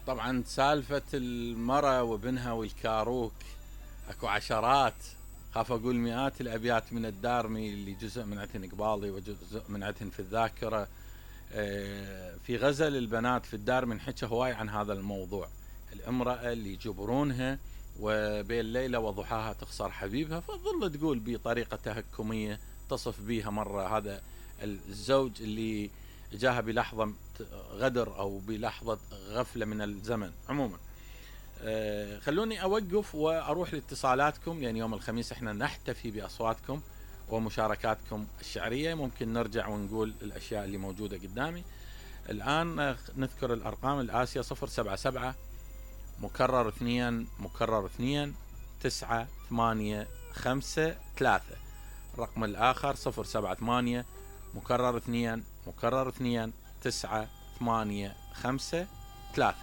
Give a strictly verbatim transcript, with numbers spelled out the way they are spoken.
طبعا سالفة المرأة وابنها والكاروك اكو عشرات، خاف اقول مئات الابيات من الدارمي اللي جزء من عتن قبالي وجزء من عتن في الذاكرة. في غزل البنات في الدارمي انحكى هواي عن هذا الموضوع، الامرأة اللي يجبرونها وبين ليلة وضحاها تخسر حبيبها، فتظل تقول بطريقة تهكمية تصف بيها مرة هذا الزوج اللي جاها بلحظة غدر او بلحظة غفلة من الزمن. عموما أه خلوني اوقف واروح لاتصالاتكم، لان يوم الخميس احنا نحتفي باصواتكم ومشاركاتكم الشعرية. ممكن نرجع ونقول الاشياء اللي موجودة قدامي الان. نذكر الارقام الاسية: صفر سبعة سبعة مكرر اثنين مكرر اثنين تسعة ثمانية خمسة ثلاثة. الرقم الاخر صفر سبعة ثمانية مكرر اثنين مكرر اثنين تسعة ثمانية خمسة ثلاثة.